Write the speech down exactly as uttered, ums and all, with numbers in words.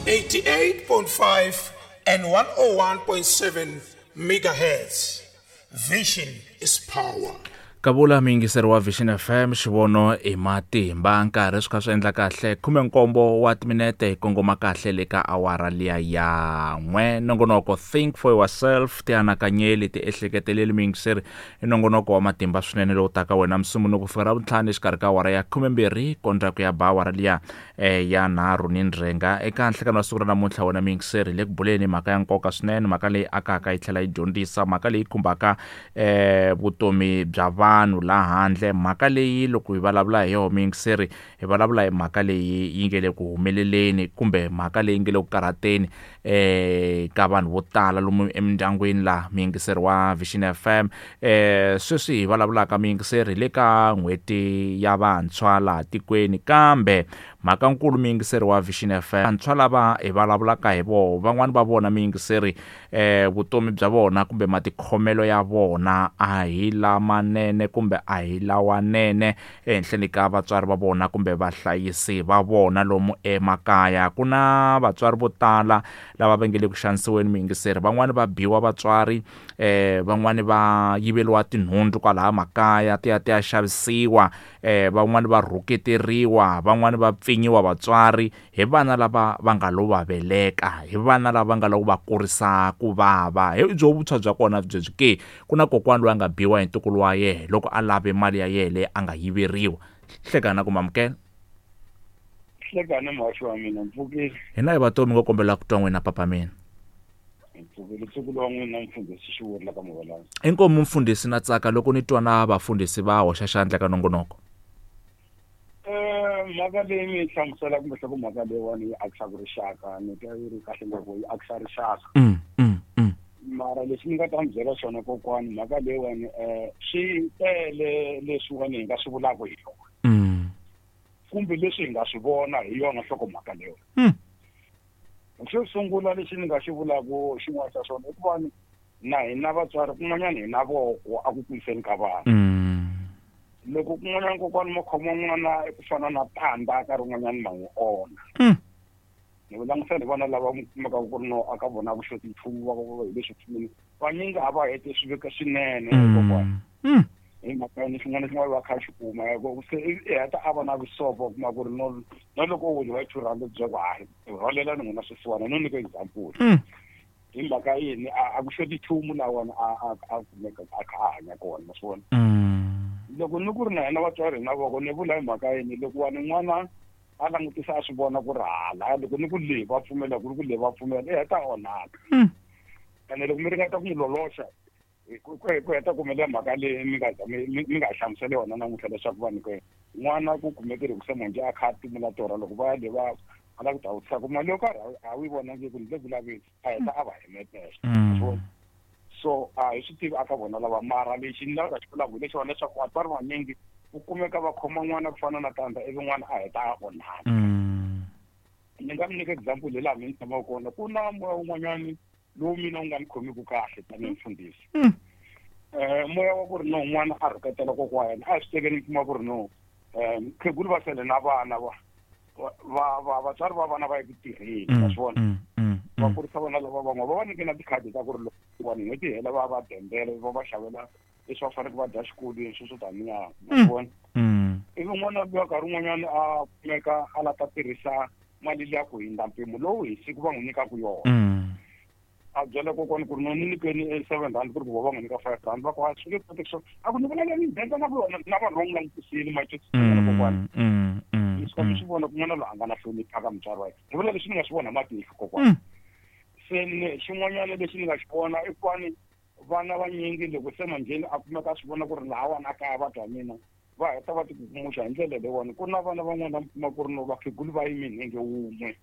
eighty-eight point five and one oh one point seven megahertz. Vision is power. Kavula muyingiseri wa Vision F M, xivono i matimba, nkarhi swi kha swi endla kahle khume nkombo wa timinete hi kongoma kahle le ka awara liya ya n'we. Nongonoko Think for Yourself, tianakanyeli, tiehleketeleli muyingiseri, i nongonoko wa matimba swinene lowu taka wena musunguluko ku fika ravuntlhanu exikarhi ka awara ya khume mbirhi kondza ku ya ba awara liya, eh, ya nharhu ni ndzhenga. Eka nhlekano wa siku ra namuntlha wena muyingiseri, le ku buleni mhaka ya nkoka swinene, mhaka leyi akaka yi tlhela yi dyondzisa, mhaka leyi khumbaka, eh, vutomi bya vanhu laha handle, mhaka leyi loko hi vulavula hi yona muyingiseri, hi vulavula hi mhaka leyi yi nge le ku humeleleni kumbe mhaka leyi nge le ku karhateni, eh, ka vanhu vo tala lomu emindyangwini laha muyingiseri wa Vision F M. Eh, sweswi hi vulavulaka muyingiseri le ka n'hweti ya vantshwa laha tikweni, kambe mhaka nkulu muyingiseri wa Vision F M, vantshwa lava hi vulavulaka hi vona, van'wani va vona muyingiseri, eh, vutomi bya vona kumbe matikhomelo ya vona a hi lamanene kumbe a hi lawanene ehenhleni ka vatswari va vona kumbe vahlayisi va vona lomu emakaya. Ku na vatswari vo tala lava va nge le ku xanisiweni muyingiseri, van'wani va biwa vatswari, eh, van'wani va yiveriwa tinhundzu kwalaya makaya ti ya ti ya xavisiwa, eh, van'wani va rhuketeriwa, van'wani va pfinyiwa vatswari hi vana lava va nga lo va veleka, hi vana lava va nga lo va kurisa ku vava. Hi byo vutshwa bya kona byebyi ke, ku na kokwana loyi a nga biwa hi ntukulu wa yena loko a lave mali ya yena leyi a nga yiveriwa. Hlekana ku mamukela. Hlekana muhaxi wa mina, mpfukile. Hina hi vatomi ngo kombela ku twa n'wina papa mina. Mpfukile ntukulu wa n'wina mfundhisi Xivuri la ka Muvalanga. Inkomu mfundhisi, na tsaka loko ni twa na vafundhisi va hoxa xandla ka nongonoko. Eh, mhaka leyi mi yi hlamusela kumbe hloko mhaka leyiwani yi akisaka rixaka, ni twa yi ri kahle ngopfu, yi akisa rixaka. Mm, mm, mm. Mara lexi ni nga ta mi byela xona kokwani, mhaka leyiwani, eh, swi tele leswiwani hi nga swi vulaka hi yona. Mm. Kumbe leswi hi nga swi vona hi yona nhlokomhaka leyiwani. Mm. Xo sungula lexi ni nga xi vulaka xin'wana xa swona i ku va na hina vatswari kun'wanyana hi na voko a ku kuriseni ka vana. Mm. Loko kun'wanyana kokwani mo khoma n'wana ku fana na tandza nkarhi wun'wanyana ma n'wi onha. Mm. Ni vu langutisela hi vana lava mi kumaka ku ri no a ka vona ku xoti nchumu va ku hi leswi pfumeli. Vanyingi a va hete swi veka swinene Mm. kokwani. Mm. Hi mhaka yini xin'wana na xin'wana va kha xi kuma, ya ku se i heta a va na vusopo, u kuma ku ri no, na loko u winiwa hi two rand bya ku hayi, rhwalela ni n'wina swisiwana, no nyika example. Mm. Hi mhaka yini a, a ku xoti nchumu laha wona a, a, a kumeka a kha a hanya kona, ma swi vona? Mm. Loko ni ku ri na hina vatswari hi na voko, ni vula hi mhaka yini loko wa ni n'wana a langutisa a swi vona ku ri hala, loko ni ku le va pfumela, ku ri ku le va pfumela, i heta a onhaka. Mm. Ene loko mi ringeta ku n'wi loloxa, ku, ku, ku heta ku humelela mhaka leyi mi nga za mi, mi, mi nga hlamuseli yona namuntlha leswaku vanhu ke n'wana ku kumeke ri ku se manjhe a kha a timula torha, loko va ya le va a lava ku ta vutisa ku mali yo karhi a wu yi vonangi ku ni le ku laveni, a heta a va himetela. Mm. So, so a hi swi tivi aka vona lava, mara lexi ni lavaka xi vulaka hi lexiwani leswaku vatswari vanyingi ku kumeka va khoma n'wana ku fana na tandza ivi n'wana a heta a onhaka. Mm. Ni nga mi nyika example hi laha mi ni tshamaka kona, ku na moya wun'wanyani lowu mina wu nga ni khomiki kahle tanihi mfundhisi. Mm. Eh, moya wa ku ri no n'wana a rhuketela kokwa wa yena, a hi swi tekeni mi kuma ku ri no, eh, mukhegulu va sele na vana va, va, va, vatswari va vana va ye ku tirheni, Mm, wa swi vona? mm, mm, Va mm. kurisa vana lava van'wana, va va nyike na tikhadi ta ku ri loko vanhu n'hweti yi hela va va dendela, va va xavela leswi va faneleke va dya xikolweni, sweswo taniya, wa Mm. swi vona? Mm. Ivi n'wana luya nkarhi wun'wanyana a kumeka a lava ta tirhisa mali liya ku hundza mpimo lowu hi siku va n'wi nyikaka yona. Mm. A byela kokwani ku ri no ni nyikeni e seven rand, ku ri ku va va n'wi nyika five rand, va ku a swi nge koteki swona. A ku ni vula ni denda na vona, na vanhu va n'wi langutisile, ma twisisa Mm, kokwani. mm, mm, Leswi ka mi mm. swi vona ku n'wana loyi a nga na hlonipha ka mutswari wa yena. Ni vula leswi ni nga swi vona hi matihlo kokwani. Mm. Se ni xin'wanyana lexi ni nga xi vona i ku va ni vana vanyingi loko se manjheni a kumeka a swi vona ku ri lahawani a kaya va twa mina, va heta va tikukumuxa hi ndlela leyiwani. Ku na vana van'wana va kuma ku ri no vakhegulu va yime nenge wun'we.